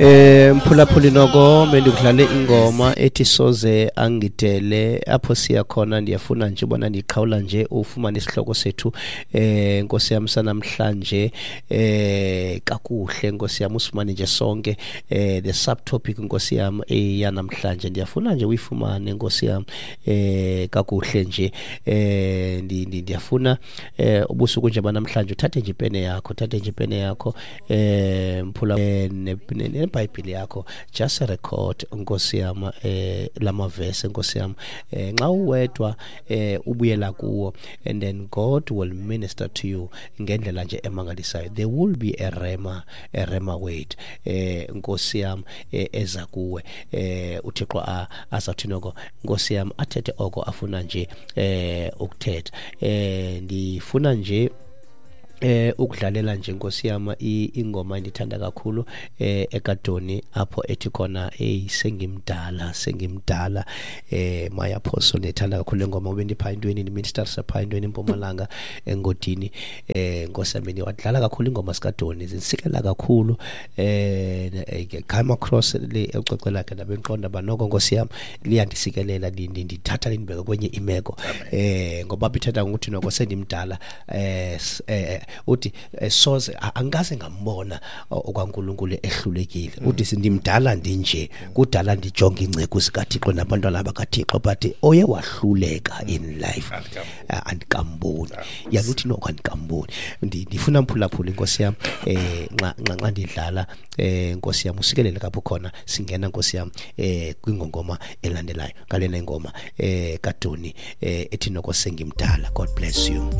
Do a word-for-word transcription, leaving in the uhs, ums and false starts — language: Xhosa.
Eh mphulaphuli noko bendikudlale ingoma ethi soze angidele apho siya khona. Ndiyafuna nje ubona ndiqhawula nje ufumane isihloko sethu eh Nkosi yam sanamhlanje eh kakuhle Nkosi yam usifumane nje sonke eh the subtopic Nkosi yam eyanamhlanje. Ndiyafuna nje uyifumane Nkosi yam eh kakuhle nje eh ndiyafuna eh ubusuku nje banamhlanje uthathe nje ipene yakho, uthathe nje ipene yakho eh mphula neBhayibhile yakho, just record Nkosi yam eh lamavesi Nkosi yam eh nxa uwedwa eh ubuyela kuwo, and then God will minister to you ngendlela nje emangalisayo. There will be a rema a rema word eh Nkosi yam eza kuwe eh uThixo azawuthi noko Nkosi yam athethe oko afuna nje eh ukuthetha. Eh ndifuna nje eh ukudlalela nje Nkosi yam ingoma endithanda kakhulu eh eKadoni apho ethi khona hey sengimdala sengimdala eh my apostle. Ndithanda kakhulu ingoma ubendipha intweni ni minister sapha intweni eMpumalanga engodini eh Nkosi yami wadlala kakhulu ingoma sikaDoni zinsikela kakhulu eh come across le ecwecwe lakhe nabenqonda banoko Nkosi yam liyandisikelela ndithatha lindibeka kwenye imeko eh ngoba ithetha ukuthi noko sendimdala eh uthi soze angikaze ngambona okwaNkulunkulu ehlulekile. Uthi sindimdala ndinje kudala ndijonga ingceku zikaThixo nabantwana bakaThixo but oye wahluleka in life andikamboni. Yaluthi noko andikamboni. Ndifuna mphulaphula Nkosi yam eh nxa nxa ndidlala eh Nkosi yam usikelele kapho khona singena Nkosi yam eh kwingongoma elandelayo ngalena ingoma eh kaDoni eh ethi noko sengimdala. God bless you.